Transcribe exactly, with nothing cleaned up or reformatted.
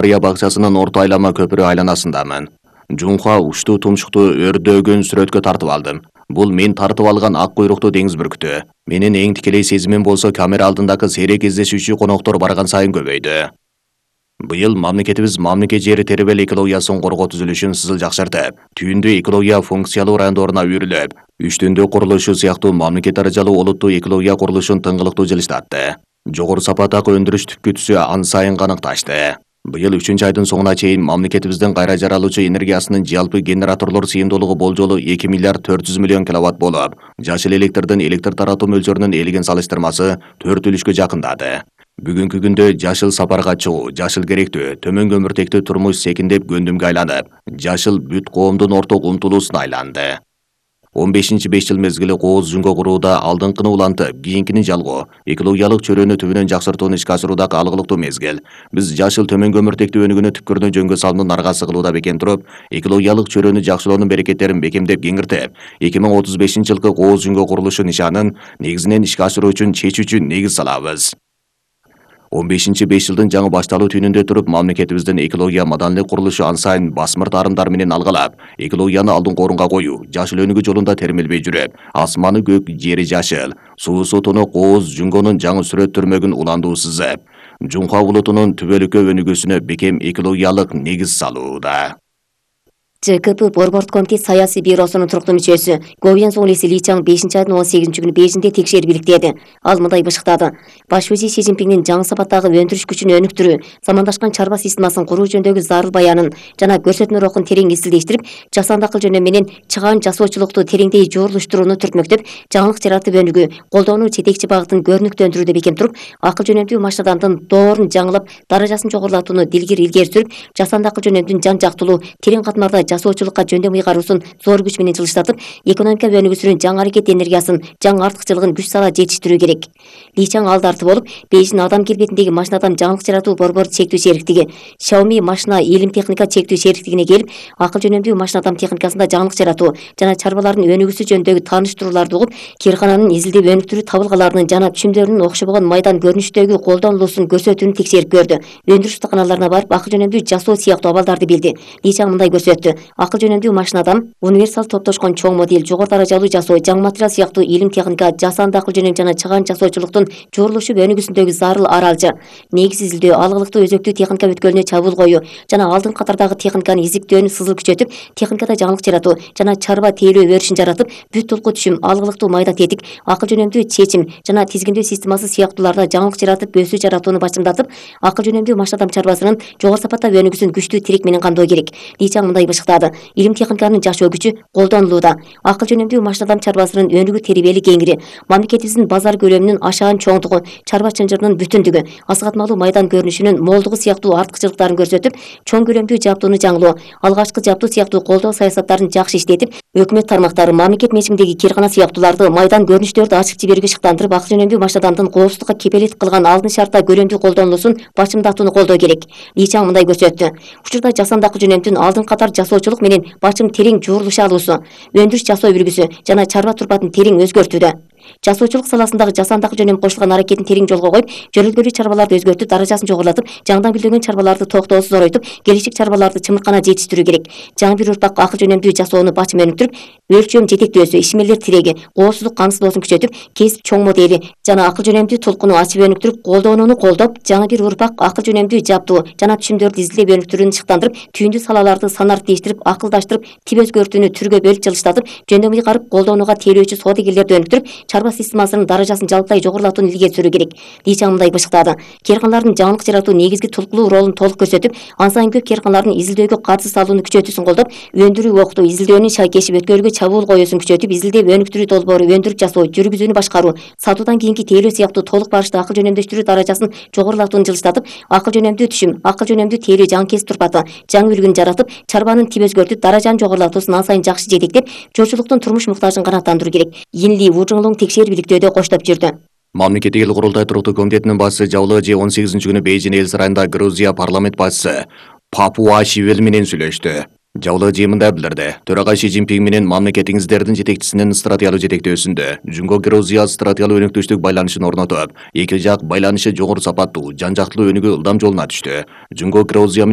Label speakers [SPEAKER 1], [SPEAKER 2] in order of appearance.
[SPEAKER 1] Рия бакчасынын орто айлама көпүрө айланасындамын. Жунха уштуу тумшукту өрдөөгөн сүрөткө тартып алдым. Бул мен тартып алган ак куйруктуу деңиз бүркүтү. Менин эң тикелей сезимим болсо камера алдындагы сейрек кездешүүчү коноктор барган сайын көбөйдү. Быйыл мамлекетибиз мамлекет жери тербел экологиясын коргоо түзүлүшүн сызыл жакшыртып, түйүндү экология функциялуу райондоруна үйрүлүп, үчтүндү курулушу сыяктуу мамлекет даражалуу олуттуу экология курулушун тыңгылыктуу жылыштатты. Жогору сапаттагы өндүрүш түпкү түсү ан сайын каныкташты. Быйыл үчүнчү айдын соңуна чейин мамлекетибиздин кайра жаралуучу энергиясынын жалпы генераторлор сыйымдуулугу болжолу эки миллиард төрт жүз миллион киловатт болуп, жашыл электрдин электр таратуу мөлчөрүнүн элеген салыштырмасы төрт үлүшкө жакындады. Бүгүнкү күндө жашыл сапарга чыгуу, жашыл керектүү, төмөн көмүртектүү турмуш секиндеп гөндүмгө айланып, жашыл бүт коомдун орток умтулуусуна айланды. он бешинчи беш жыл мезгили кооз жүнгө курууда алдыңкыны улантып, кийинкини жалгоо, экологиялык чөйрөнү түбүнөн жакшыртууну ишке ашыруудагы алгылыктуу мезгил. Биз жашыл төмөн көмүртектүү өнүгүүнү түпкүрүнөн жөнгө салуунун аргасы кылууда бекем туруп, экологиялык чөйрөнү жакшылоонун берекеттерин бекемдеп кеңиртип, эки миң отуз бешинчи жылкы кооз жүнгө курулушу нишанын негизинен ишке ашыруу үчүн чечүүчү негиз салабыз. он бешинчи беш жылдын жаңы башталуу түнүндө туруп, мамлекетибиздин экология маданилык курулушу ан сайын басмырт арымдар менен алгалап, экологияны алдыңкы орунга коюу, жашыл өнүгүү жолунда термелбей жүрүп, асманы көк, жери жашыл, суусу тунук кооз жүнгөнүн жаңы сүрөт түрмөгүн уландуу сызып, Жунха булутунун түбөлүккө өнүгүүсүнө бекем экологиялык негиз салууда.
[SPEAKER 2] ЖКП Борбордук комитет саясий бюросунун туруктуу мүчөсү Говьян Соңлеси Ли Чаң бешинчи айдын он сегизинчи күнү Бейжиңде текшерип иликтеди. Ал мындай бышыктады: Баш вазир Си Цзиньпиндин жаңы сапаттагы өндүрүш күчүн өнүктүрүү, замандашкан чарба системасын куруу жөнүндөгү зарыл баянын жана көрсөтмө рухун терең изилдештирип, жасанды акыл жөнүндө менен чыгаан жасоочулукту тереңдей жуурулуштурууну түртмөктөп, жаңылык жаратып өнүгүү, колдоону жетекчи багытын көрүнүктөндүрүүдө бекем туруп, акыл жөнүндүү машинадандын доорун жаңылап, даражасын жогорулатууну дилгир илгери сүрүп, жасанды акыл жөнүндө жан жактылуу, терең катмарда жасоочулукка жөндөм ыйгаруусун зор күч менен жылыштатып, экономика өнүгүүсүнүн жаңы аракет энергиясын, жаңы артыкчылыгын күч сала жетиштирүү керек. Ли Чаң алдарты болуп, Бейжиң адам келбетиндеги машинадан жаңылык жаратуу борбору чектүү шериктиги, Xiaomi машина илим техника чектүү шериктигине келип, акыл жөнүндүү машинадам техникасында жаңылык жаратуу жана чарбалардын өнүгүүсү жөнүндөгү тааныштырууларды угуп, киркананын изилдеп өнүктүрүү табылгаларынын жана түшүмдөрүнүн окшобогон майдан көрүнүштөгү колдонулуусун көрсөтүүнү текшерип көрдү. Өндүрүш устаканаларына барып, акыл жөнүндүү жасоо сыяктуу абалдарды билди. Ли Чаң мындай көрсөттү: акыл жөнүндүү машинадам универсал топтошкон чоң модель, жогору даражалуу жасоо, жаңы материал сыяктуу илим техника, жасанды акыл жөнүндө жана чыгаан жасоочулуктун жуурулушуп өнүгүүсүндөгү зарыл аралжы, негиз изилдөө, алгылыктуу өзөктүү техника бүткөлүнө чабуул коюу жана алдыңкы катардагы техниканы изиктөөнү сызыл күчөтүп, техникада жаңылык жаратуу жана чарба тейлөө өрүшүн жаратып, бүт тулку түшүм, алгылыктуу майда тетик, акыл жөнүндүү чечим жана тизгиндөө системасы сыяктууларда жаңылык жаратып, өсүү жаратууну башымдатып, акыл жөнүндүү машинадам чарбасынын жогору сапатта өнүгүүсүн күчтүү тирек менен камдоо керек. Ли Чаң мындай бышыктады: илим техниканын жашоо күчү колдонулууда, акыл жөнүндүү машинадам чарбасынын өнүгүү тербели кеңири, мамлекетибиздин базар көлөмүнүн ашаан чоңдугу, чарба чынжырынын бүтүндүгү, асыгатмалуу майдан көрүнүшүнүн молдугу сыяктуу артыкчылыктарын көрсөтүп, чоң көлөмдүү жабдууну жаңылоо, алгачкы жабдуу сыяктуу колдоо саясаттарын жакшы иштетип, өкмөт тармактары, мамлекет менчигиндеги киркана сыяктууларды майдан көрүнүштөрдү ачык жиберүүгө шыктандырып, акыл жөнүндүү машинадамдын коопсуздукка кепелет кылган алдын шартта көлөмдүү колдонулуусун башымдатууну колдоо керек. Ли Чаң мындай көрсөттү: учурда жасанды акыл жөнүндө алдыңкы катар жасоочулук менен башым терең жуурулуша алуусу, өндүрүш жасоо үлгүсү жана чарба турпатын терең өзгөртүүдө. Жасоочулук саласындагы жасанды акыл жөнүндө кошулган аракетин терең жолго коюп, жөнөлгөлүү чарбаларды өзгөртүп, даражасын жогорулатып, жаңыдан гүлдөгөн чарбаларды токтоосуз зоройтуп, келечек чарбаларды чымыркана жетиштирүү керек. Жаңы бир урпак акыл жөнүндүү жасоону бачым өнүктүрүп, өлчөм жетектөөсү, ишмерлер тиреги, коопсуздук камсыздоосун күчөтүп, кесип чоң модели жана акыл жөнүндүү тулкуну ачып өнүктүрүп, колдонууну колдоп, жаңы бир урпак акыл жөнүндүү жабдуу жана түшүмдөрдү изилдеп өнүктүрүүнү ышыктандырып, түйүндүү салаларды санариптештирип, акылдаштырып, тип өзгөртүүнү түргө бөлүп жылыштатып, жөндөм ыйгарып, колдонууга тейлөөчү соодагерлерди өнүктүрүп, чарба системасынын даражасын жалпылай жогорулатууну илгери сүрүү керек. Ли Чаң мындай бышыктады: кирканалардын жаңылык жаратуу негизги тулкулуу ролун толук көрсөтүп, ан сайын көп кирканалардын изилдөөгө катыш салууну күчөтүүсүн колдоп, өндүрүү окутуу, изилдөөнүн шайкеши өткөрүүгө чабуул коюусун күчөтүп, изилдеп өнүктүрүү долбоору, өндүрүп жасоо, жүргүзүүнү башкаруу, сатуудан кийинки тейлөө сыяктуу толук барыштуу акыл жөнөмдөштүрүү даражасын жогорулатууну жылыштатып, акыл жөнөмдүү түшүм, акыл жөнөмдүү тейлөө жаңы кесип турпаты, жаңы үлгүнү жаратып, чарбанын тип өзгөртүп, даражанын жогорулатуусун ан сайын жакшы жетектеп, жочулуктун турмуш муктажын канааттандыруу керек. Йинли Вужиңлуң текшерип иликтөөдө коштоп жүрдү.
[SPEAKER 1] Мамлекеттик эл курултай туруктуу комитетинин башчысы Жабылы Ж он сегизинчи күнү Бейжиң эл сарайында Грузия парламент башчысы Папуашвили менен сүйлөштү. Жабылы Ж мындай билдирди: төрагай Си Цзиньпин менен мамлекетиңиздердин жетекчисинин стратегиялык жетектөөсүндө Жунго Грузия стратегиялык өнөктөштүк байланышын орнотуп, эки жак байланышы жогору сапаттуу, жан жактылуу өнүгүү ылдам жолуна түштү. Жунго Грузия